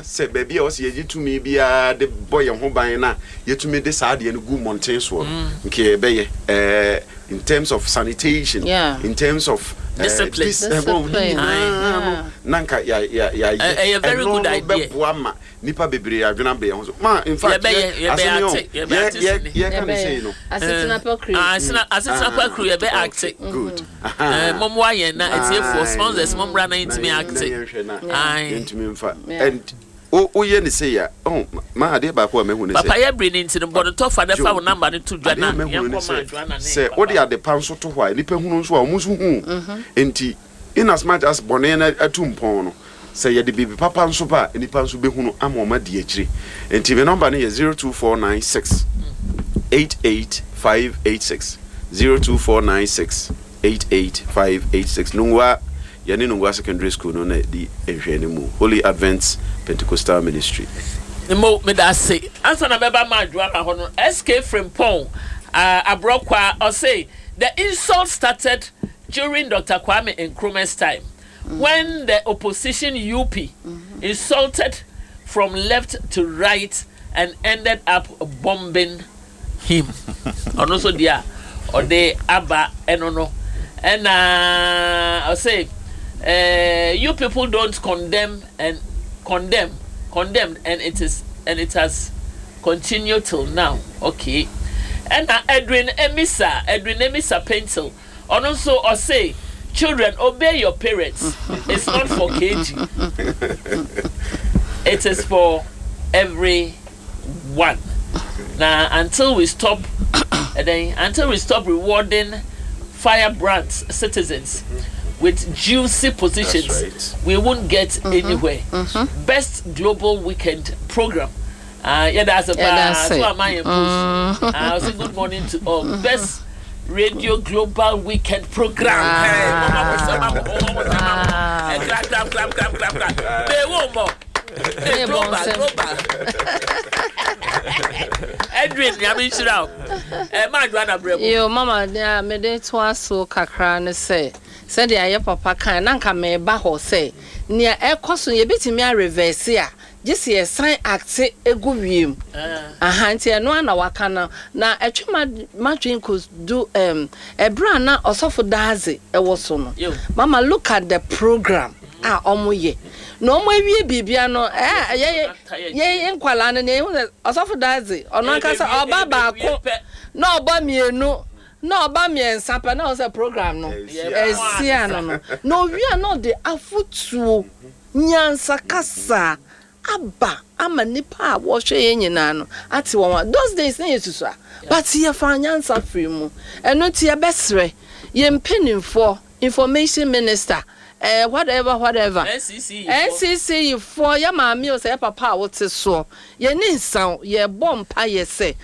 Sɛ baabi a ɛwɔ sɛ yɛgye tumi biara de bɔ yɛn ho ban na yɛtumi de saa adeɛ no gu mmɔnten soɔ no, nka yɛbɛyɛ. Ɛɛ, in terms of sanitation, Yeah. in terms of eh, Discipline. dis, eh, well, ne Discipline. nyinaa no, Yeah. na nka yɛ- yɛ- yɛayɛ. Ɛyɛ very Ɛno good no idea. bɛboa ma nnipa bebree adwene aba yɛn ho so. Ma, in fact, Yɛbɛyɛ, yɛ- yɛbɛyɛ asɛm yi o, ate, yɛbɛyɛ yɛ- ate yɛ- sini. yɛka ne sei no. Asetena pa kiri. Ah, asetena pa kuru yɛbɛ Okay, acte. good. Eh, mommoa yɛn na atiefoɔ Aye. sponsors mommra na yɛntumi Na acte. yɛnhwɛ na Aye. yɛntumi mfa. Yeah. And woyɛ ne sei a, oh, ma adeɛ baako a mahu ne sɛ Papa yɛ bere ne nti no bɔ no tɔfa na fa wo namba no to dwa adeɛ na a mahu ne yɛnkɔ ma sɛ Joanna ne sɛ papa. wode ade pa nso to hɔ a, nnipa hunu nso a, wɔn nso hu. Nti in as much as bɔne no atu mpɔn no, sɛ yɛde biribi papa nso ba a, nnipa nso bɛhunu ama wɔn adi akyire. Nti me nɔmba no yɛ 02496 88586, 02496 88586. Nungua, yɛne Nungua Secondary School no na ɛdi nhwɛanimu, Holy Advent Pentecostal Ministry. Mo, meda ase. Ansa na mɛba ma Joanna hɔ no, SK Frimpong, ah, Aborɔkwa, ɔse, The insult started during Doctor Kwame Nkrumah's time when the opposition UP insulted from left to right and ended up bombing him. Ɔno nso deɛ a ɔde aba ɛno no. Ɛna ɔse, eh, you people don't condemn and condemn, condemned and it is and it has continued till now. Okay. Ɛna Edwin Emisa, Edwin Emisa Paintil, ɔno nso ɔse, children obey your parents, it's not for KG, it is for everyone. Na until we stop, ɛdɛn, until we stop rewarding firebrand citizens with juicy positions, That's right. we won't get anywhere. Best global weekend program. Ah, yɛda ase Yɛda paa. ase. So ama yɛn post. Ah, ɔse good morning to all. Best radio global weekend program. Hey, mama mo sɛ ma mo, mama mo sɛ ma mo. Eh, clap, clap, clap, clap, clap, clap. Be wo mo. Hey, Hey, global, bonsem. global. Edwin, nyame nhyira wo. Eh, ma adwa na brɛ mu. Yo, mama, nea mede toa so kakra ne sɛ, sɛdeɛ ayɛ papa kan na nka meba hɔ sɛ nea ɛkɔ so no yɛbɛtumi areverse a, gye sɛ yɛsan acte egu wiem. Aha, nti ɛno ara na waka no, na ɛtwe ma madwen kɔdu ɛberɛ a na Ɔsɔfo Daadze ɛwɔ so no. Yo. Mama, look at the program a ɔmo yɛ na ɔmo awie biribia no, ɛɛ yɛ yɛ nkwalaa no nea ehu sɛ Ɔsɔfo Daadze ɔno ankasa ɔba baako na ɔba mmienu na ɔba mmiɛnsa pɛ na ɔsɛ program no ɛsi ano no, na owie a na ɔde afotuo nyansa kasa aba ama nipa a wɔhwɛ yɛn nyinaa no ate wɔn a those days ne yɛ susu a, but yɛfa nyansa firi mu. Ɛno nti yɛbɛsrɛ yɛn mpanimfoɔ, information minister, whatever whatever, NCC NCC foɔ, yɛ maame o, sɛ yɛ papa a wote soɔ, yɛne nsaw yɛbɔ mpa yɛ sɛ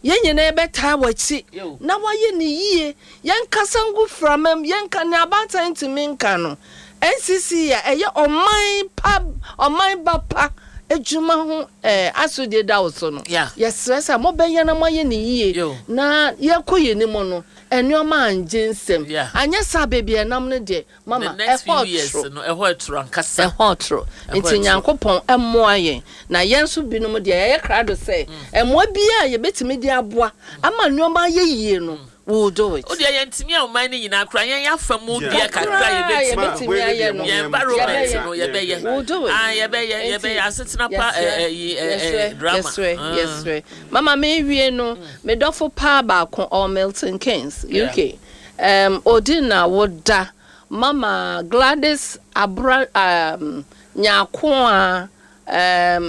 yɛn nyinaa yɛbɛtaa w'akyi Yo. na wayɛ ne yie. Yɛnkasa ngu framam, yɛnka ne abaatan ntumi nka no. NCC a ɛyɛ ɔman pa, ɔman ba pa adwuma ho asodie da wo so no, yɛsrɛ sɛ mobɛyɛ na moayɛ ne yie Yo. na yɛkɔ yɛn anim no, nneɛma angye nsɛm. Anyɛ saa, baabi a ɛnam no deɛ, mama, The next ɛhɔ few years toro. no, ɛhɔ ɛtoro ankasa. Ɛhɔ toro. Ɛhɔ Nti ɛtoro. Nyankopɔn ɛmmoa yɛn na yɛn nso binom deɛ yɛyɛ krado sɛ ɛmmoa biara a yɛbɛtumi de aboa ama nneɛma ayɛ yie no, we will do it. O deɛ yɛntumi a ɔman no nyinaa koraa yɛn afa mu deɛ kakra Kakra a yɛbɛtumi. yɛbɛtumi ayɛ no. Yɛn environment Yɛbɛyɛ. no yɛbɛyɛ. We will do it. Ah, yɛbɛyɛ, Nti, yɛbɛyɛ asetena pa yɛsrɛ, ɛyi ɛ yɛsrɛ, drama. yɛsrɛ, Ah. yɛsrɛ. Mama, mewie no, me dɔfo paa baako ɔwɔ Milton Keynes, UK. Odi na woda Mama Gladys Abra Nyako a a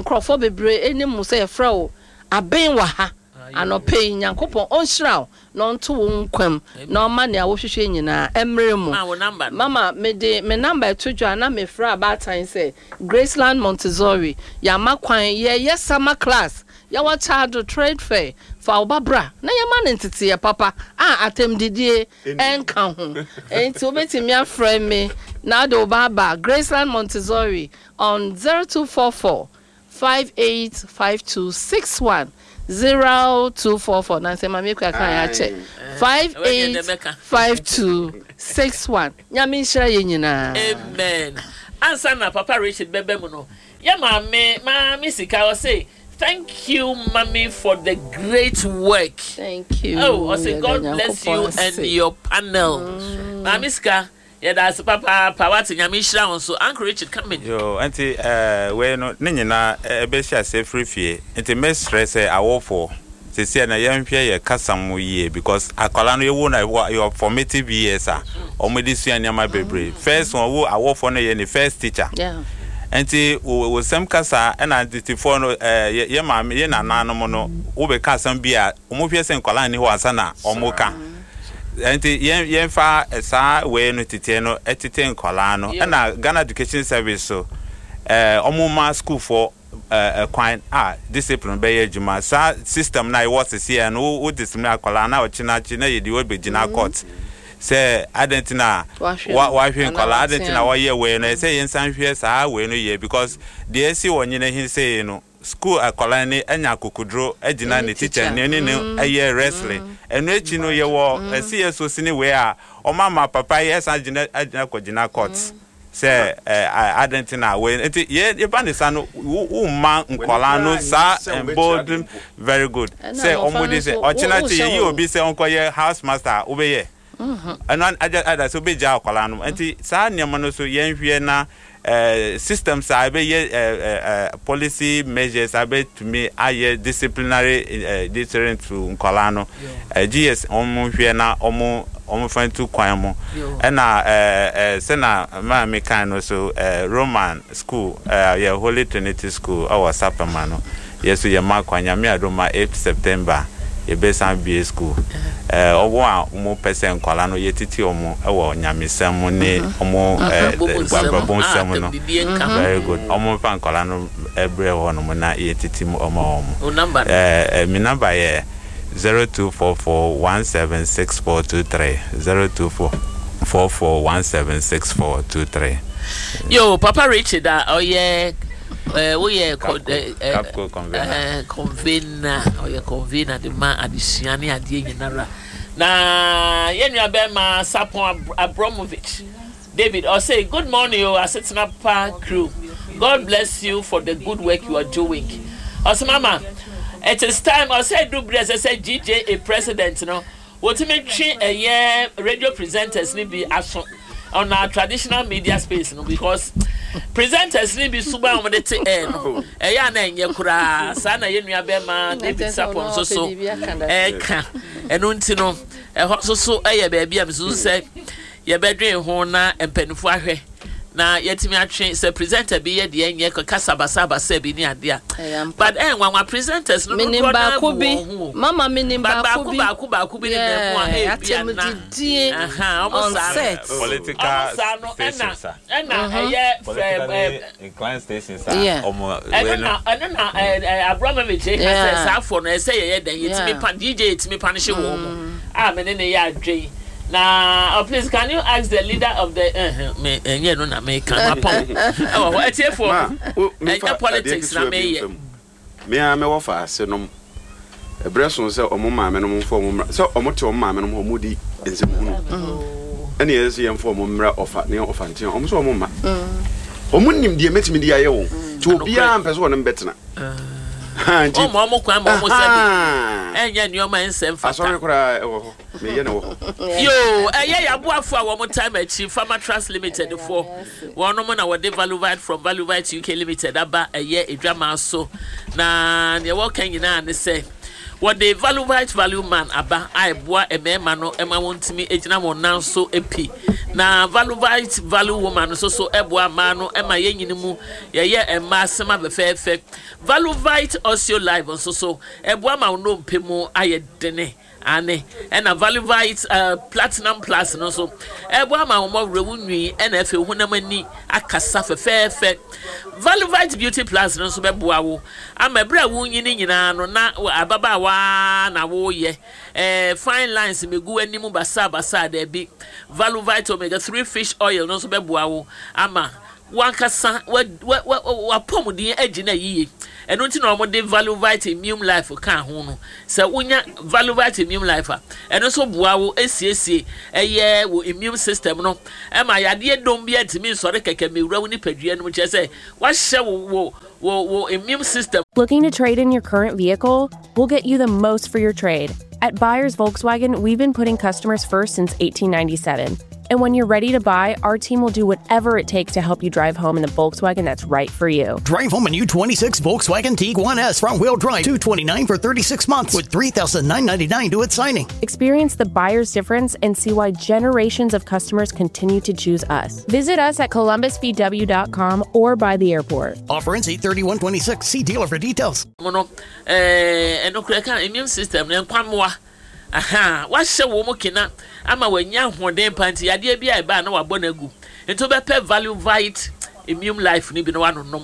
nkurɔfoɔ bebree anim sɛ yɛfrɛ wo Aben wɔ ha. Anɔpɛ yi, Nyankopɔn ɔnhyira wo na ɔnto wo nkwam na ɔma nea wohwehwɛ nyinaa ɛmmerɛ mu. Ma wo number no. Mama, mede me number ɛto dwa na mefrɛ abaatan sɛ Graceland Montessori yɛama kwan yɛyɛ summer class, yɛwɔ Kyado Trade Fair, fa wo ba bra na yɛma no nteteeɛ papa a atɛmdidie ɛnka ho. Enti wobɛtumi afrɛ me na wode wo ba aba Graceland Montessori on 0244 585261, 0244 na sɛ maame kura kan yɛ akyɛ 585261. Nyame nhyira yɛn nyinaa. Amen. Ansa na Papa Richard bɛba mu no, Yɛ maame maame sika ɔse thank you mummy for the great work. Thank you. Oh ɔse God bless you and your panel. Maame sika yɛda ase papaapa wate Nyame nhyira wo nso. Uncle Richard come in. Yoo nti eh wei no ne nyinaa ɛbɛhyɛ aseɛ firi fie nti mɛsrɛ sɛ awofoɔ seesei no yɛnhwɛ yɛ kasa mu yie because akwadaa no yɛwo no a yɛ formative years a wɔn de sua nneɛma bebree first one wo awofoɔ no yɛ ne first teacher nti wo wo sɛm kasa ɛna tetefoɔ no ɛɛ yɛ maame yɛ nananom no wobɛka asɛm bi a wɔn hwɛ sɛ nkwadaa nni hɔ ansa na wɔn ka nti yɛn yɛnfa saa wei no teteɛ no ɛtete nkwadaa no ɛna Ghana Education Service so ɛɛ wɔn ma sukuufoɔ kwan a discipline bɛyɛ adwuma. Saa system no a yɛwɔ seseɛ no, wo discipline akwadaa na ɔkye no akye na yɛde wo bɛgyina court sɛ adɛn nti na wahwe nkwadaa, adɛn nti na wɔyɛ wei no. Ɛsɛ yɛnsan hwɛ saa wei no yie because deɛ ɛsi wɔ Nyinahin sei no, school akwadaa no anya akokoduro agyina ne teacher ne ne no ɛyɛ wrestling. Ɛno akyi no yɛwɔ CSO sini wei a wɔama papa yi ɛsan gyina agyina kɔgyina court. Sɛ ɛ adɛn nti na wei nti yɛ yɛba ne sa no wo wo mma nkwadaa no saa embolden very good sɛ wɔn de sɛ ɔkyena kye yɛyi obi sɛ ɔnkɔyɛ house master a wobɛyɛ ɛno agya ada sɛ wobɛgya akwadaa no nti saa nneɛma no so yɛnhwɛ na ɛɛ systems a ɛbɛyɛ ɛɛ ɛɛ policy measures a bɛtumi ayɛ disciplinary ɛɛ deterrent to nkwadaa no ɛɛ GS wɔn hwɛ na wɔn wɔmfa ntu kwan mu. Ɛna ɛɛ sɛna maa me kan no so ɛɛ Roman school ɛɛ yɛ Holy Trinity school ɛwɔ Sapema no yɛ so yɛ ma kwan Nyame adom a 8th September yɛ bɛ san bue school ɛɛ ɔmo a ɔmo pɛ sɛ nkwadaa no yɛ titi ɔmo ɛwɔ nyamesɛm mu ne ɔmo ɛɛ abrabɔ nsɛm no very good ɔmo nfa nkwadaa no ɛbrɛ hɔ nom na yɛ titi mu ɔmo ɔmo ɛɛ me number yɛ. 0244176423 0244176423. Yo, Papa Richard a ɔyɛ eh, woyɛ Capco convener. Eh, convener, ɔyɛ convener de ma adesua ne adeɛ nyinara. Na yɛn nua bɛrima Sapon Abramovich David ɔse good morning o asetena pa crew God bless you for the good work you are doing ɔse mama it is time ɔsɛ edu bere ɛsɛ sɛ GJA president no wotumi twe ɛyɛ radio presenters no bi aso on our traditional media space no because presenters no bi suban wɔn de te air no ɛyɛ a na ɛnyɛ koraa saa na yɛn nua bɛrima David Sapon nso so ɛka ɛno nti no ɛhɔ nso so ɛyɛ baabi a mesusu sɛ Yɛbɛdwen ho na mpaninfoɔ ahwɛ na yɛatumi atwe sɛ presenter bi yɛ deɛ ɛnyɛ kasa basabasa bi ne adeɛ a but ɛyɛ nwanwa presenters no Menim dodoɔ no ara baako bu bi wɔn ho o mama menim but baako baako bi baako baako bi ne nan mu a yeah ebi a na atɛmdidie aha ɔmo on saa no set. Political ɔmo saa no ɛna stations a. ɛna ɛyɛ fɛ Politically ɛ inclined stations a Yeah. ɔmo ɛno wei no. na ɛno na ɛ ɛ Abramovich ka sɛ Yeah. saa afɔ no ɛsɛ yɛyɛ dɛn yɛtumi Yeah. pa DJ yɛtumi pa no hye wɔn mu a me ne ne yɛ adwen na oh please can you ask the leader of the uh, me ɛnyɛ no na meka mapɔn ɛwɔ hɔ atiefoɔ Ma, wo, memfa ɛnyɛ adeɛ politics na ketewa bi meyɛ mfa mu. Me ara mewɔ faase nom. Ɛberɛ so sɛ ɔmo maame nom mfa ɔmo mmra, sɛ ɔmo te ɔmo maame nom hɔ, ɔmo di nsɛmhunu. Ɛne yɛ sɛ yɛmfa ɔmo mmra ɔfa ne ɔfa ntea, ɔmo sɛ ɔmo mma. Ɔmo nim deɛ mɛtumi de ayɛ wɔn. Nti obiara mpɛ sɛ ɔne me bɛtena. Ha, nti, ɔmo ɔmo kwan ma ɔmo sɛbi ahaa. ɛnyɛ nneɛma ɛnsɛ mfata. Asɔre koraa ɛwɔ hɔ. Meyɛ no wɔ hɔ. Yoo, ɛyɛ y'aboafo a wɔn time akyi, Pharma Trust Limited foɔ, wɔnom na wɔde Valuvite from Valuvite UK Limited aba ɛyɛ adwamaa so, na neɛ wɔka nyinaa ne sɛ, wɔde Valuvite Value Man aba a ɛboa mmarima no ma wɔntumi gyina wɔn nan so pi, na Valuvite Value Woman nso so ɛboa mmaa no ma yɛnyini mu yɛyɛ mmaa sema fɛfɛɛfɛ. Valuvite Osteo Life nso so ɛboa ma wo nnompe mu ayɛ dene. Aane, ɛna Valuvite Platinum Plus no nso, ɛboa ma wo mmɔwerɛ, wo nwi, ɛna afei wo honam ani akasa fɛfɛɛfɛ. Valuvite Beauty Plus no nso bɛboa wo ama berɛ a worenyini nyinaa no na ababaawa ara na woreyɛ. Ɛɛ, fine lines mmɛgu w'anim basaabasaa, daabi. Valuvite Omega 3 Fish Oil no nso bɛboa wo ama w'ankasa w'apɔmuden agyina yiye. Ɛno nti na wɔde Valuvite Immune Life kaa ho no. Sɛ wonya Valuvite Immune Life a, ɛno nso boa wo siesie ɛyɛ wo immune system no ma yadeɛ dɔm biara ntumi nsɔre kɛkɛ mmɛwura wo nipadua no mu. Kyerɛ sɛ, wahyɛ wo wo wo wo immune system. Looking to trade in your current vehicle? We'll get you the most for your trade. At Buyers Volkswagen, we've been putting customers first since 1897. And when you're ready to buy, our team will do whatever it takes to help you drive home in the Volkswagen that's right for you. Drive home a new 26 Volkswagen Tiguan S front wheel drive, 229 for 36 months with 3,999 due at signing. Experience the buyer's difference and see why generations of customers continue to choose us. Visit us at columbusvw.com or by the airport. Offer ends 83126. See dealer for details. Mu no, eh, ɛno koraa ɛka immune system no, nkwammoa, aha, wahyɛ wɔn mu kena ama wɔanya ahoɔden pa nti yadeɛ bi a ɛba a na wabɔ no agu. Nti wobɛpɛ Valuvite Immune Life no bi na wanonom.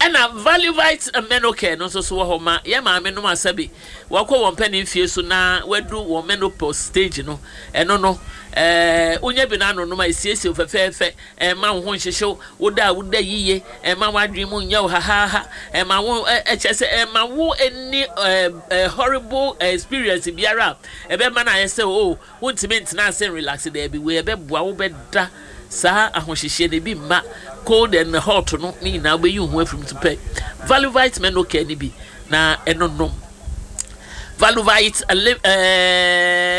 Ɛna Valuvite Menocare no nso so wɔ hɔ ma yɛn maame nom a sɛbe wɔkɔ wɔn mpanin mfie so na wɔadu wɔn menopause stage no, ɛno no, eh, wonya bi na anonom a ɛsiesie wo fɛfɛɛfɛ. Ɛmma wo ho nhyehye wo, woda a woda yiye, ɛmma w'adwene mu nyɛ wo hahaaha, ɛmma wo ɛ kyerɛ sɛ ɛmma wo nni ɛ horrible experience biara a ɛbɛma no ayɛ sɛ oh wontumi ntena ase nrelaxe, daabi, wei ɛbɛboa wo bɛda saa ahohyehyeɛ no ebi mma, cold and hot no ne nyinaa wobɛyi wo ho afiri mu, nti pɛ Valuvite Menocare no bi na ɛno nom. Valuvite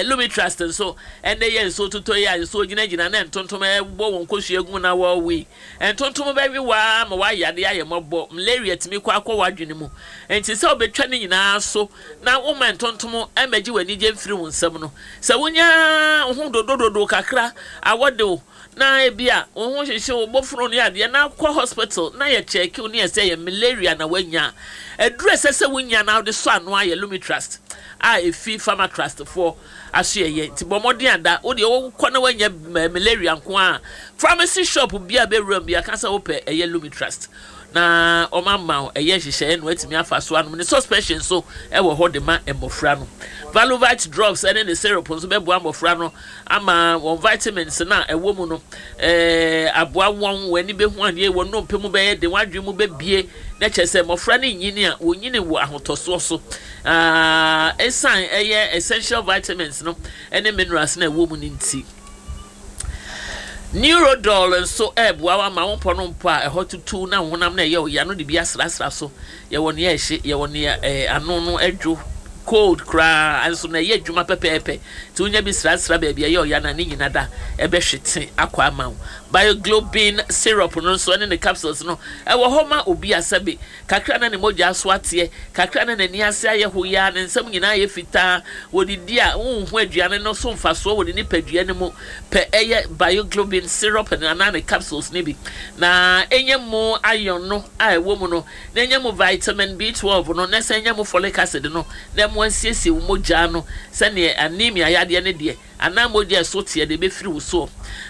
Lumitrust nso Ɛnnɛ yi a nsuo totɔ yi a nsuo gyinagyina na ntontom bɔ wɔn nkosua gu mu na wɔrewe yi, ntontom bɛwe wo ara ma woayare ayɛ mmɔbɔ. Malaria tumi kɔ akɔ w'adwene mu. Enti sɛ wobɛtwa ne nyinaa so na womma ntontom mmɛgye w'anigye mfiri wo nsam no, sɛ wonya wo ho dodododo kakra, awɔ de wo, na ebia wo ho hyehye wo, bofunu ne adeɛ, na kɔ hospital na yɛ kyɛɛke wo ne yɛ sɛ ɛyɛ malaria na woanya a, aduru a ɛsɛ sɛ wonya na wode sɔ ano ara yɛ Lumitrust a ɛfi Pharmatrust foɔ asoɛeɛ nti bɔ mmɔden ada wo deɛ wokɔ na woanya malaria nko a pharmacy shop bi a bɛwura mu bi aka sɛ wopɛ ɛyɛ Lumitrust na wɔn ama wo ɛyɛ nhyehyɛeɛ na watumi afa so anom ne suspension nso ɛwɔ hɔ de ma mmɔfra no Valovite drops ɛne ne syrup nso bɛboa mmɔfra no ama wɔn vitamins no a ɛwɔ mu no ɛɛ aboa wɔn wɔn ani bɛhu adeɛ wɔn nnompe mu bɛyɛ den wɔn adwene mu bɛbie na kyerɛ sɛ mmɔfra no nyini a wɔnyini wɔ ahotɔsoɔ so Esiane ɛyɛ essential vitamins no ne minerals no a ɛwɔ mu no nti. Neurodol nso ɛreboa wo ama wo mpɔ no mpɔ a ɛhɔ tutu na wo honam no ɛyɛ wo ya no de bi asrasra so. Yɛwɔ nea ɛhye, yɛwɔ nea ɛɛ ano no ɛdwo cold koraa nso na ɛyɛ adwuma pɛpɛɛpɛ. Nti wonya bi srasra baabi a ɛyɛ ɔya no a ne nyina da ɛbɛhwete akɔ ama wo. Bioglobin syrup no nso ɛne ne capsules no ɛwɔ hɔ ma obi a sɛbe Kakra na ne mogya so ateɛ, kakra na n'ani ase ayɛ hoyaa, ne nsam nyinaa ayɛ fitaa. Wɔdidi a, wonhu aduane no so mfasoɔ wɔ ne nipadua no mu. Pɛ ɛyɛ Bioglobin syrup no anaa ne capsules no bi, na nya mu iron no a ɛwɔ mu no, na nya mu vitamin B12 no, na san nya mu folic acid no, na ɛmmoa nsiesie wo mogya no sɛdeɛ anemia yadeɛ no deɛ, anaa mogya a ɛso teɛ no ɛbɛfiri wo soɔ.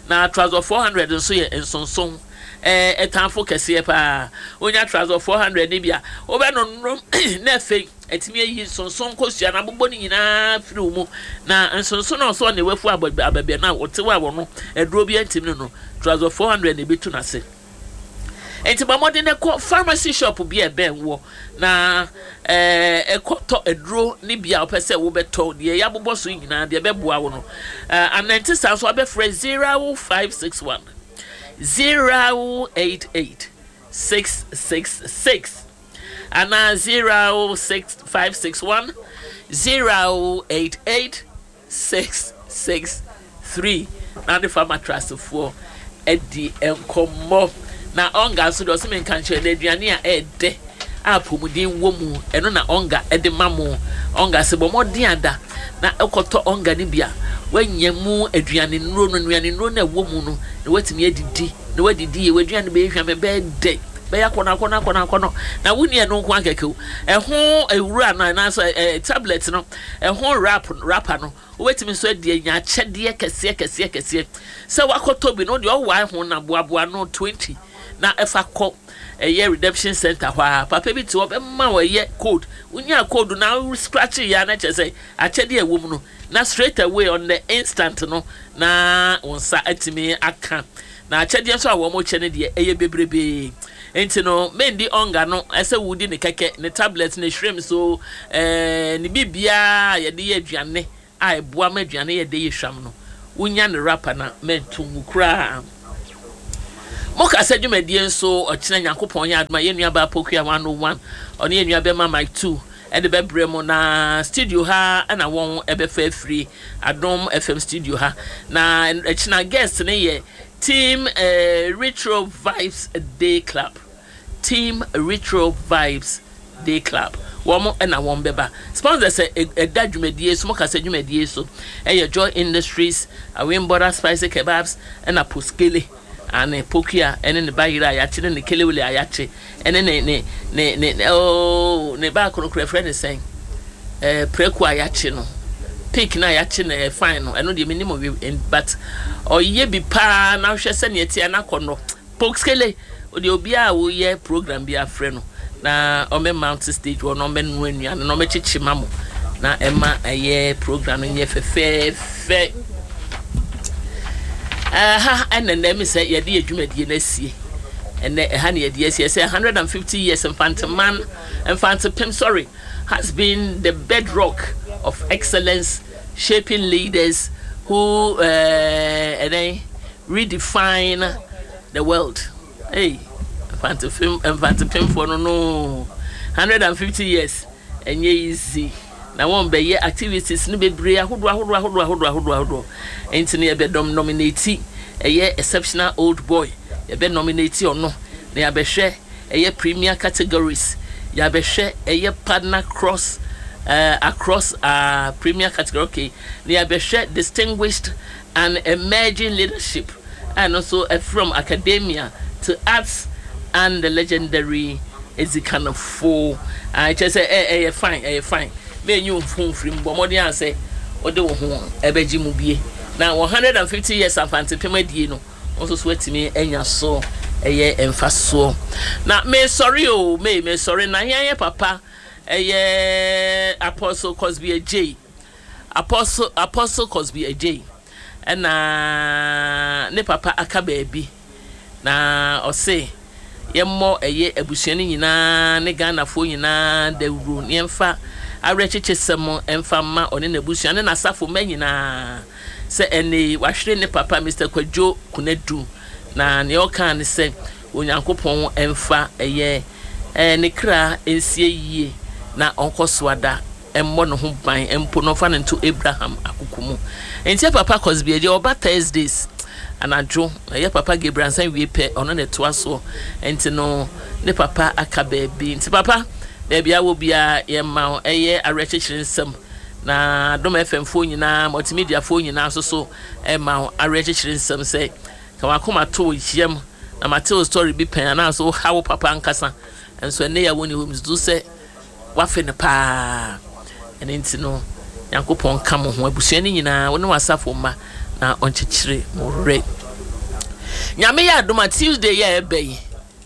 Na Trazol 400 nso yɛ nsonson. Ɛɛ tamfo kɛseɛ paa. Wonya Trazol 400 no bi a, wobɛnonom na afei atumi ayi nsonson nkosua no abobɔ ne nyinaa firi wo mu. Na nsonson a ɔsɛ ɔne wafu abɛbɛ no a ɔte hɔ a wɔno aduro bi antimi no no, Trazol 400 na ɛbɛtu n'ase. Enti bɔ mmɔden na kɔ pharmacy shop bi a ɛbɛn woɔ na ɛɛ kɔtɔ aduro ne bi a wopɛ sɛ wobɛtɔ deɛ yɛabobɔ so nyinaa deɛ ɛbɛboa wo no. Ɛɛ anante saa nso abɛfrɛ 0561 088 666 anaa 06561 088 663 na ne fa matrasfoɔ adi nkɔmmɔ. Na Ɔnga nso deɛ ɔse menka nkyerɛ no aduane a ɛɛdɛ a apɔmuden wɔ mu ɛno na Ɔnga de ma mo. Ɔnga se bɔ mmɔden ada na kɔtɔ Ɔnga no bi a woanya mu aduane nnuro no, nnuane nnuro no a ɛwɔ mu no na woatumi adidi na woadidi yie, w'aduane bɛyɛ hwam, ɛbɛyɛ dɛ, bɛyɛ akɔnɔ akɔnɔ akɔnɔ akɔnɔ na wonni ɛno nko ara kɛkɛ o, ɛho awura no anaasɛ ɛɛ tablet no ɛho wrap wrapper no wobɛtumi nso adi anya akyɛdeɛ kɛseɛ kɛseɛ kɛseɛ sɛ wakɔtɔ bi no deɛ ɔwae ho na boaboa no 20 na ɛfa kɔ ɛyɛ redemption center hɔ a papa bi te hɔ bɛma wo ɛyɛ code wonya code na wo scratch yɛ a na kyerɛ sɛ akyɛdeɛ a ɛwɔ mu no na straight away on the instant no na wo nsa atumi aka na akyɛdeɛ nso a wɔn kyɛ no deɛ ɛyɛ bebrebee. Nti no mendi ɔnga no sɛ wodi ne kɛkɛ, ne tablet, ne shrimps o, ɛɛ ne biribiara a yɛde yɛ aduane a ɛboa ma aduane yɛ dɛ yɛ hwam no, wonya ne wrapper no a, mɛnto ngu koraa. Mo kasa dwumadie nso, ɔkyena Nyankopɔn yɛ adom a, yɛn nua baa Pokuya 101, ɔne yɛn nua bɛma Mike 2 de bɛbrɛ mo, na studio ha na wɔn bɛfa afiri, Adom FM studio ha. Na ɛkyena guest no yɛ Team Retro Vibes Day Club. Team Retro Vibes Day Club wɔn na wɔn bɛba. Sponsors a ɛda dwumadie so, mo kasa dwumadie so ɛyɛ Joy Industries, Awembora Spicy Kebabs ɛna Poskele ane Pokuya ɛne ne ba yere a yakye ne ne kelewele a yakye ɛne ne ne ne ne ne ooo ne ba akoro kora ɛfrɛ ne sɛn ɛɛ prɛko a yakye no pig na yakye no ɛyɛ fine no ɛno deɛ menim ɔwe but ɔyɛ bi paa na hwɛ sɛnea ɛteɛ na akɔ no Poxkele, Ɔdeɛ obiara a woyɛ program biara frɛ no na ɔmmɛ mount stage hɔ na ɔmmɛ noa nnuane na ɔmmɛkyekye ma mo na ɛma ɛyɛ program no nyɛ fɛfɛɛfɛ. Ɛha ɛna nnɛ mi sɛ yɛde yɛ dwumadie no asie. Ɛnɛ ɛha na yɛde asie sɛ 150 years Mfanteman Mfantepem sorry has been the bedrock of excellence shaping leaders who uh, ɛdɛn Redefine the world ei Mfantefem Mfantepemfoɔ no no 150 years ɛnyɛ easy na wɔn bɛyɛ activities no bebree ahodoɔ ahodoɔ ahodoɔ ahodoɔ ahodoɔ ahodoɔ nti no yɛbɛ dɔm nominate ɛyɛ exceptional old boy yɛbɛ nominate ɔno na yɛabɛhwɛ ɛyɛ premier categories yɛabɛhwɛ ɛyɛ partner cross uh, across uh, premier category okay na yɛabɛhwɛ distinguished An Emerging Leadership a ɛno nso from academia to arts and the legendary Edzikanfo. Ah, kyerɛ sɛ ɛ ɛyɛ fine, ɛyɛ fine. Mɛnyi wo ho mfiri mu, bɔ mmɔden a sɛ wode wo ho ɛbɛgye mu bie. Na 150 years Amfantepem adie no, wo nso so atumi anya so ɛyɛ mfasoɔ. Na mesɔre o, me mesɔre na yɛn yɛ papa ɛyɛ Apostle Cosby Adjei. Apostle Apostle Cosby Adjei na ne papa aka baabi na ɔse yɛmmɔ ɛyɛ abusua no nyinaa ne Ghanafoɔ nyinaa dawuro na yɛmfa awerɛkyekyesɛm mfa mma ɔne n'abusua ne n'asafo mma nyinaa sɛ ɛnɛ yi wahwere ne papa Mister Kwadwo Konadu na nea ɔkaa ne sɛ Onyankopɔn mfa ɛyɛ ne kra nsie yie na ɔnkɔ so ada mmɔ ne ho ban mpo na ɔmfa no nto Abraham akoko mu. Enti yɛ papa Cosby agya ɔba Thursdays anadwo, ɛyɛ papa Gabriel ansa wie pɛ ɔno na ɛtoa soɔ. Enti no ne papa aka baabi. Nti papa baabi a wɔ biara yɛma wo ɛyɛ awerɛkyekyere nsɛm na Adom FM foɔ nyinaa, multimedia foɔ nyinaa nso so ɛma wo awerɛkyekyere nsɛm sɛ ka w'akoma to wo yam na mate wo story bi pɛn anaasɛ woha wo papa ankasa nso ɛnɛ yɛ a wonni hɔ mesusu sɛ Wafe no paa. Ɛno nti no, Nyankopɔn nka mo ho, abusua no nyinaa, wo ne w'asafo mma, na ɔnkyekyere mo werɛ. Nyame yɛ adom a, Tuesday yi a ɛba yi,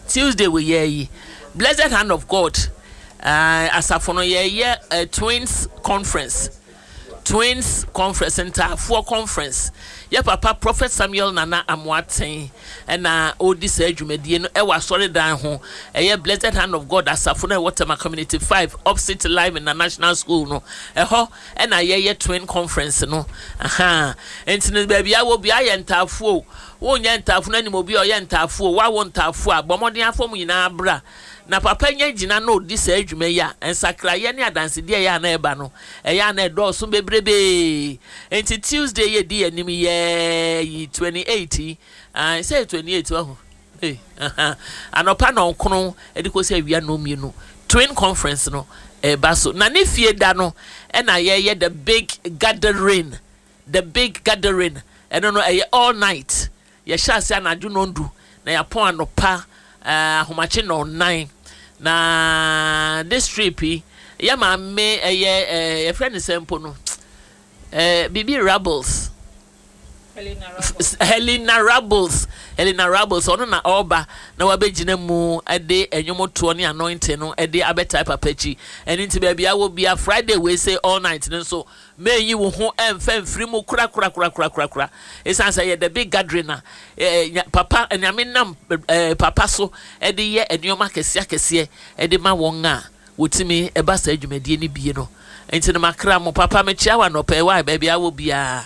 Tuesday wɔ yɛ yi, Blessed Hand of God uh, asafo no yɛyɛ uh, Twins Conference. Twins Conference, Ntaafoɔ Conference. Yɛ papa Prophet Samuel Nana Amoateng na ɔredi saa dwumadie no wɔ asɔredan ho. Ɛyɛ Blessed Hand of God asafo no a ɛwɔ Tema Community 5 opposite Live International School no. Ɛhɔ na yɛyɛ Twin Conference no. Aha. Nti no baabi a wɔ biara yɛ ntaafoɔ o. Wonyɛ ntaafo no anim obi a ɔyɛ ntaafo o. Woawo ntaafo a, bɔ mmɔden afa wɔn nyinaa bra. Na papa nya gyina na ɔdi saa dwuma yi a, nsakraeɛ ne adansedie a ɛyɛ a na ɛba no, ɛyɛ a na ɛdɔɔso bebrebee. Enti Tuesday yi a ɛdi yɛn anim yi ara yi, 28 yi, ae, sɛ ɛyɛ 28 wahu, ei, aha, anɔpa nnɔnkron de kɔsi awia nnɔnmienu, Twin Conference no ɛreba so. Na ne fie da no ɛna yɛyɛ the big gathering, the big gathering, ɛno no ɛyɛ all night. Yɛhyɛ ase anadwo nnɔndu na yɛapɔn anɔpa ahomakye nnɔnnan. Na this trip yi, yɛ maame ɛyɛ ɛɛ yɛfrɛ ne sɛ mpo no ɛɛ biribi Rebels. Helena Rebels. Elena Rabbles, ɔno na ɔreba na wabɛgyina mu de nnwomtoɔ ne anointing no de abɛtae papa akyi. Ɛno nti baabi a wɔ bia Friday wei sei all night no nso mɛnyi wo ho ɛmfa mfiri mu korakorakorakorakora. Ɛsiane sɛ ɛyɛ the big gathering na eh, papa Nyame nam eh, papa so de yɛ nneɛma akɛseɛ akɛseɛ de ma wɔn a wɔtumi ba saa dwumadie no bie no nti no makra mo papa mekyea wo anɔpa yi wae baabi a wɔ biara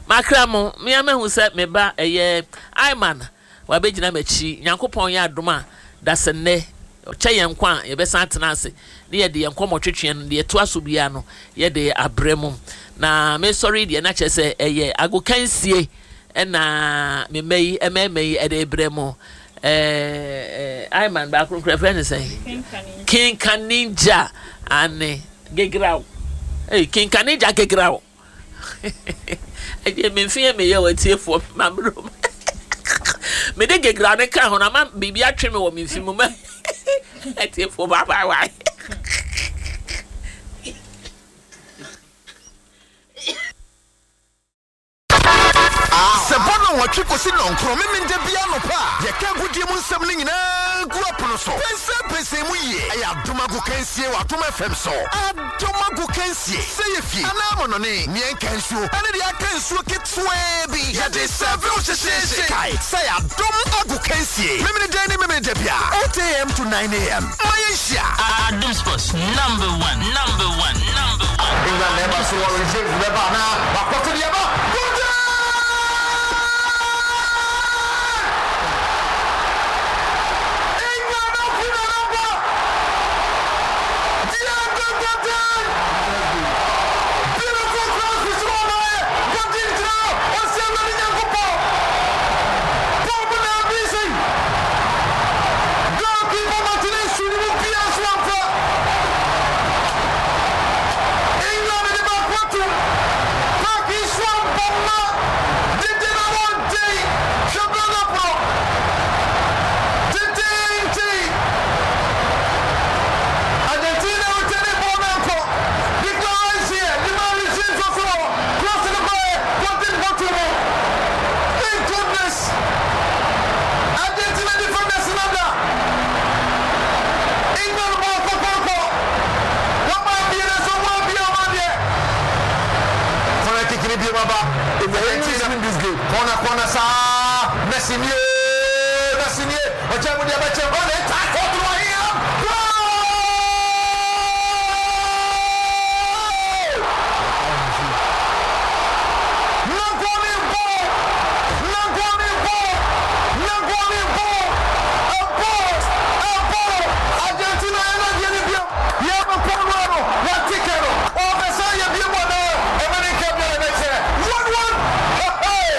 makra mo mea mahu sɛ me ba ɛyɛ Ayman wabɛgyina m'akyi Nyankopɔn yɛ adom a dasɛnnɛ ɔkyɛ yɛn nkwa a yɛbɛsan atena ase ne yɛde yɛn nkɔmmɔ twetweɛ no deɛ ɛtoa so biara no yɛde abrɛ mu na mesɔre deɛ na kyerɛ sɛ ɛyɛ agokansie ɛna me mma yi mmarima yi ɛde brɛ mo ɛɛ Ayman baako nkura fɛ ne sɛn Kinka Ninja ane Gegraw ee Kinka Ninja Gegraw ɛdeɛ memfi yɛ meyɛ wɔ atiefoɔ mammerɛ mu mede Gegraw ne ka ho na ma biribi atwe me wɔ me mfi mu ma atiefoɔ bye bye bye. Sɛ ɛbɔ nnɔnwɔtwe kosi nnɔnkron Memenda biara anɔpa a, yɛka agodie mu nsɛm no nyinaa gu apono so. Pɛnsɛmpɛnsɛn mu yie. Ɛyɛ Adom Agokansie wɔ Adom FM so. Adom Agokansie, sɛ yɛ fie anaa amannɔne, nea ɛnka nsuo ne deɛ aka nsuo ketewaa bi, yɛde sɛɛve wo hyehyeehye. Kae sɛ ɛyɛ Adom Agokansie, Memeneda ne Memeneda biara, 8am to 9am. Ma yɛnhyia. Adom Sports number one number one number one. England na ɛba so wɔ reserve bɛba anaa wakɔto deɛ ɛba Golden! England afi na naba Diego Godin! Beautiful cross fi soro ɔmaeɛ Godin gyina hɔ ɔsi Awurade Nyankopɔn bɔɔl mu na abi sei. Goalkeeper Martinez su ne mu pia so amfa. England de baako atom. Park yi so abɔ ma dede na wɔnten. Hwɛ build up no. Tententen. Argentina retaining ball no ankɔ. Declan Rice yɛ de ma Reece nso so hɔ. Cross no baeɛ. Godin bɔto mu. Thank goodness. Argentina defenders no da England bɔɔl kɔkɔɔkɔ. Wɔma abie na sɛ wɔn abie wɔn adeɛ. Corner kick ni biem aba. Argentina corner corner saa. Messi nie Messi nie ɔkyɛ mu deɛ bɛkyɛ ɔne tackle to ahia. Goal! Nankɔne bɔ! Nankɔne bɔ! Nankɔne bɔ! Ɛbɔ! Ɛbɔ! Argentina yɛ n'adeɛ no biom. Yɛbɛkɔ no ano. Yɛate kɛ no. Ɔbɛsan yɛ biom anaa? Ɛma ne nka biara bɛkyerɛ. 1-1! Hey!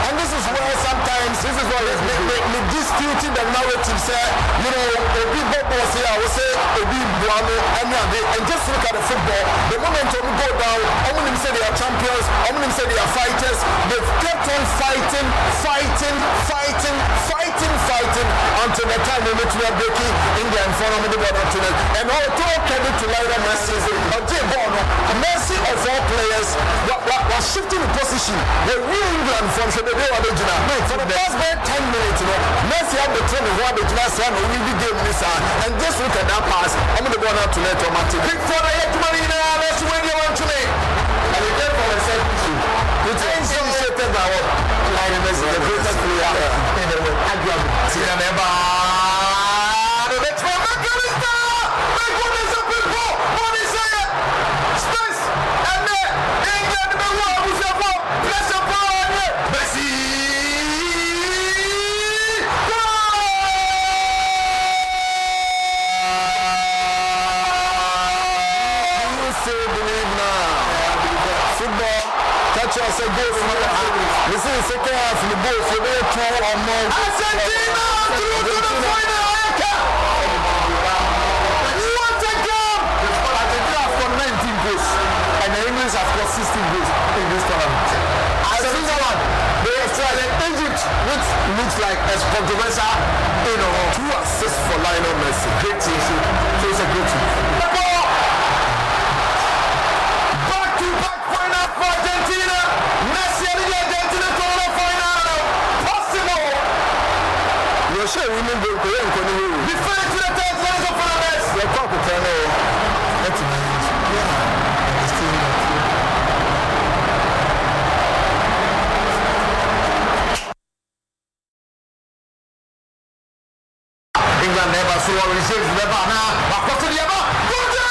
And this is where sometimes this is where me me me disputing the narrative sɛ you know obi bɔ bɔɔl sei a wose obi boa no ɛne ade and just look at the football the moment ɔmo go down ɔmo nim sɛ they are champions ɔmo nim sɛ they are fighters they've kept on fighting fighting fighting fighting fighting until the time ɔmo tumi abreaki England foɔ na ɔmo de bɔɔl no ato net and all total credit to Lionel Messi ɔgyee bɔɔl no Messi of all players wa wa wa shifting ne position wawie England foɔ no hwɛ baabi a wabɛgyina for the past bɛyɛ 10 minutes no Messi abɛtena ne ho abɛgyina saa na ɔredi game no saa and just look at that pass ɔmo de bɔɔl no ato net ɔmo ate Pickford ayɛ adwuma no nyinaa nanso wei deɛ wantumi. And he came from a set piece o. Which is initiated by what? Lionel Messi, the greatest player in the world, arguably. Tina na ɛba na ɔbɛtumi McAllister! My goodness, a big ball! Bɔɔl no hyɛ yɛ space ɛnɛ England bɛwu abusuafoɔ pressure paa ɛnɛ Messi! Do you still believe now? Football, catch us a goal from the half. This is the second half in the goals. You better two or more. Argentina through to the final. What a game! Argentina have scored 19 goals and the English have scored 16 goals in this tournament. Switzerland, they have tried and Egypt, which looks like a controversial, you know, two assists for Lionel Messi. Great team, so it's a great team. Back to back final for Argentina. Messi and Argentina to the final. Possible. bɛba anaa wakɔ so de aba Goal!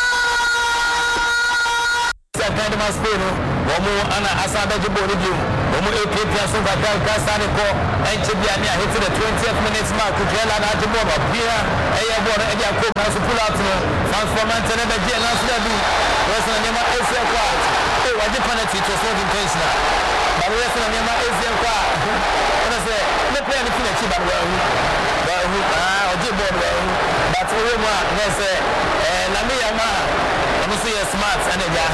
Sɛ kan de ma Spain no, wɔn na asan abɛgye bɔɔl no bio. Wɔn repiapia so nkakrankakra san de kɔ. Ɛnkyɛ biara ne ahete the twentieth minute mark, Cucurella na agye bɔɔl no. Wapia ɛyɛ bɔɔl no de akɔ mu nanso pull out no, Francois Mantha na ɛbɛgyeɛ nanso dabi. Wohwɛ sɛnea nneɛma resi rekɔ a, oh wagye penalty, it was not intentional. But wohwɛ sɛnea nneɛma resi rekɔ a, wona sɛ ne player no fi n'akyi ba no wanhu. Wanhu, ah ɔgyee bɔɔl no wanhu. But wohwɛ mu a, na ɛsɛ eh, Lamine Yamal. Ɔno nso yɛ smart ɛna agya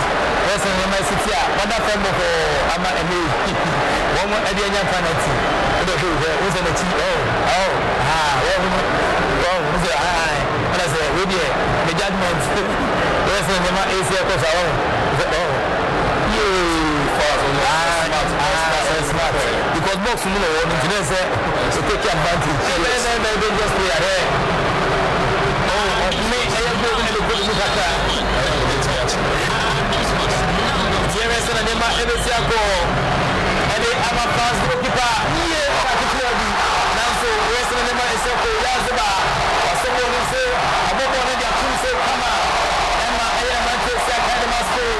hwɛ sɛ nneɛma si te a wada fam bɔkɔɔ ama ɛnɛ yi wɔn ɛde anya penalty wode hwɛ hwɛ wo sɛ n'akyi oh oh ha wɔn no wɔn wo sɛ ha ɛna sɛ wei deɛ ne judgement hwɛ sɛ nneɛma esi ɛkɔ so a wɔn sɛ oh yee ah ah smart because box mu na wɔn nti na sɛ o take advantage very very very dangerous player hwɛ oh ɔhome ɛyɛ goal no. Ɛkɔ mu kakra. Nti yɛhwɛ sɛnea nneɛma bɛsi akɔ ɛde ama France goalkeeper yie ɔka ketewa bi nanso wohwɛ sɛnea nneɛma ɛsi akɔ Oyarzabal wasɔ bɔɔl no nso abɔ bɔɔl no de ato nso kama ɛma ɛyɛ mmeranteɛ si akan de ma Spain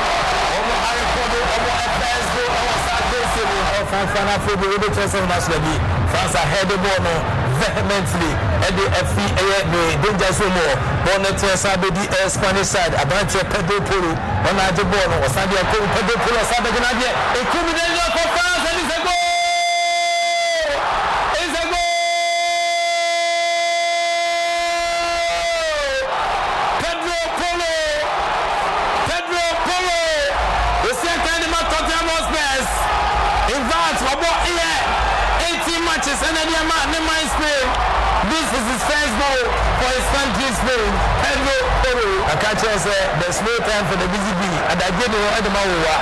wɔn arekɔdo wɔn first goal ɛwɔ saa akansie mu. Ɔfanfa no afei deɛ wobɛkyerɛ sɛ wɔn ahyɛ bi France ahɛde bɔɔl no vehemently ɛde afi ɛyɛ ne danger zone mu hɔ. Bɔɔl no teɛ san bɛdi ɛyɛ Spanish side aberanteɛ Pedro Porro ɔno agye bɔɔl no ɔsan de akɔ mu Pedro Porro ɔsan bɛgye n'adeɛ ɛku bi danger for France and it's a goal it's a goal Pedro Porro Pedro Porro ɔsi akan de ma Tottenham Hotspurs in fact ɔbɔ ɛyɛ 18 matches ɛna ɛde ama ne man Spain this is his first goal for his country Spain Pedro Porro. Ɔka kyerɛɛ sɛ there's no time for the busy bee, adagye ni hɔ de ma wowa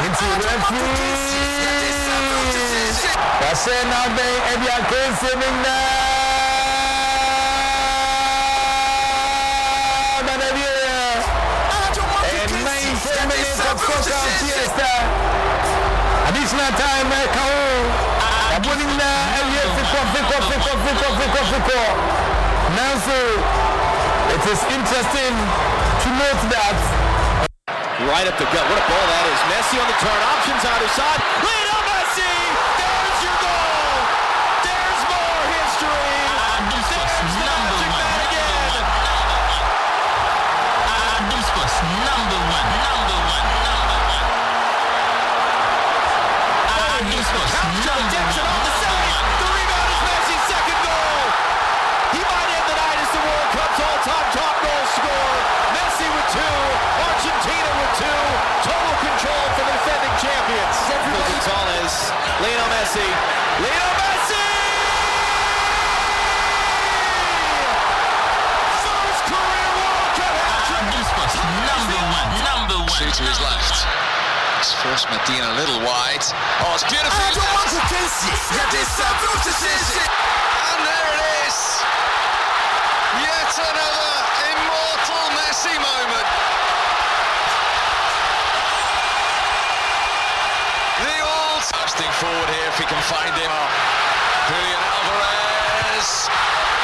nti referee wahyɛ n'abɛn de akansie no nyinaa ba n'awieɛ. Ɛyɛ 90 minutes of soccer fiesta, additional time ɛka ho. Yɛabɔ ne nyinaa awie fekɔ fekɔ fekɔ fekɔ fekɔ fekɔ. Nanso, it is interesting to note that. Right up the gut. What a ball that is. Messi on the turn. Options either side. Lionel Messi! There's your goal! There's more history! There's the magic man again! Number one, number one, number one. Gets it on the save. The rebound is Messi's second goal. He might end the night as the World Cup's all-time top goal scorer. Messi with two, Argentina with two. Total control for the defending champions. Gonzalez, Lionel Messi, Lionel Messi! First career World Cup hat-trick. Number one, number one. Two to his left. It's forced Medina a little wide. Oh, it's beautiful. And there it is. Yet another immortal Messi moment. The old Thrusting forward here if he can find him. Julian Alvarez.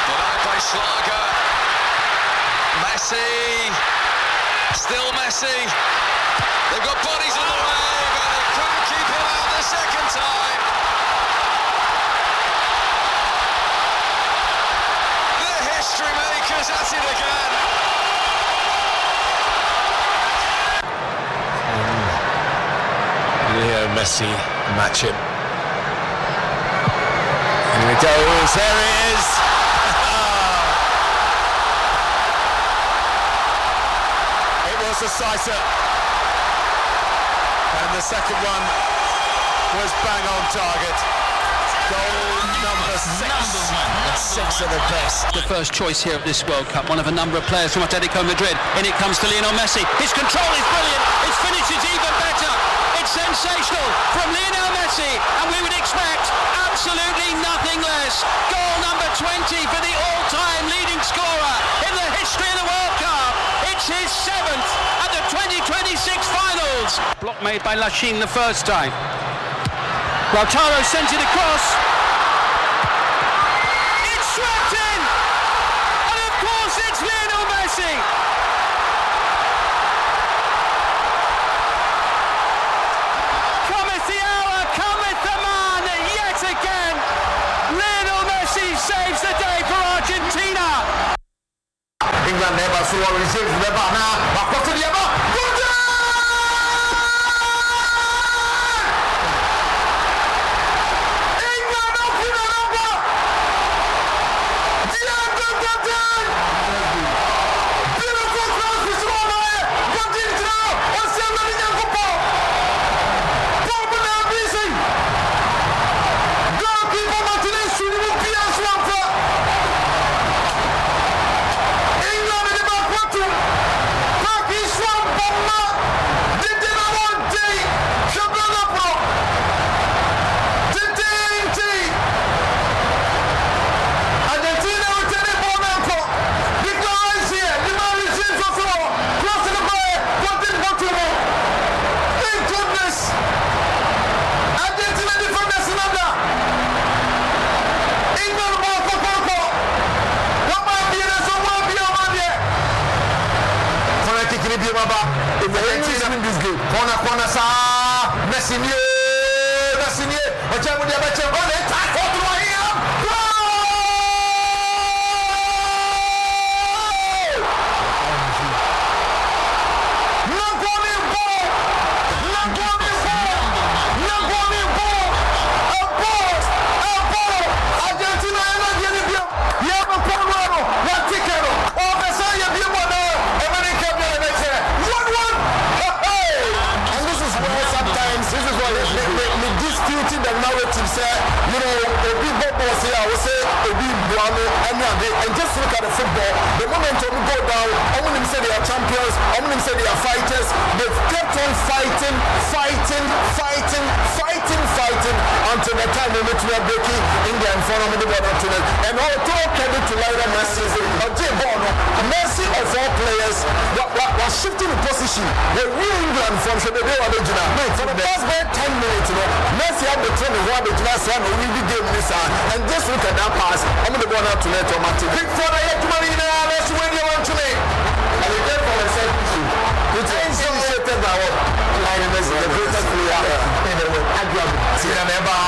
Denied by Schlager. Messi. Still Messi. They've got bodies in the way, but they couldn't keep him out the second time. The history makers at it again. Leo Messi match him. Here it goes, there it is! It was a sighter. And the second one was bang on target. Goal number six. And six of the best. The first choice here at this World Cup, one of a number of players from Atletico Madrid. In it comes to Lionel Messi. His control is brilliant. His finish is even better. It's sensational from Lionel Messi, and we would expect absolutely nothing less. Goal number 20 for the all-time leading scorer in the history of the World Cup. It's his seventh at the 2026 finals. Block made by Lachin the first time. Lautaro sends it across. It's swept in! And of course it's England na ɛba so wɔ Reece James bɛba anaa wakɔ so de aba Gordon! England opener no aba! Diego Godin! Beautiful cross fi soro ɔma ɛ Godin gyina hɔ ɔsi Awurade Nyankopɔn bɔɔl mu na abi sei Goalkeeper Martinez su ne mu pia so amfa. England de baako atom. Park yi so abɔ ma dede na wɔnten. Hwɛ build up no. Tententen. Argentina retaining ball no ankɔ. Declan Rice yɛ de ma Reece nso so hɔ. Cross no baeɛ. Godin bɔto mu. Thank goodness. Argentina defenders no ada. England bɔɔ kɔkɔɔkɔ. Wɔma abie na sɛ wɔn abie ɔma deɛ. Corner kick ni biem aba. Argentina win this game. Corner corner saa. Messi nie. Messi nie. Ɔkyɛ mu deɛ bɛkyɛ. Ɔne tackle to ahia. Goal! Nagoni ball. Nagoni ball. Nagoni ball. A ball. A ball. Argentina yɛ n'adeɛ no biom. Yɛ bɛkɔ no ano. Yɛate kɛ no. Ɔbɛsan yɛ biom anaa? Ɛmɛ ne nka biara ɛbɛkyerɛ. 1-1. Hey! And this is where sometimes this is where me me me disputing the narrative sɛ obi bɔ bɔɔl sei a wosɛ obi boa no ɛne ade and just look at the football the moment ɔmo go down ɔmo nim sɛ they are champions ɔmo nim sɛ they are fighters they've kept on fighting fighting fighting fighting fighting until the time ɔmo tumi abreaki England foɔ no ɔmo de bɔɔl no ato net and all total credit to Lionel Messi ɔgye bɔɔl no Messi of all players wa wa wa shifting the position wɔwie England foɔ no hwɛ baabi a wabɛgyina for the past bɛyɛ 10 minutes no Messi abɛtena ne ho abɛgyina saa na ɔredi game no saa and just look at that pass ɔmo de bɔɔl no ato net ɔmo ate Pickford ayɛ adwuma no nyinaa nanso wei deɛ wantumi. And he came from a set piece. Which is initiated by what? Lionel Messi, the greatest player in the world, arguably. Tina na ɛba.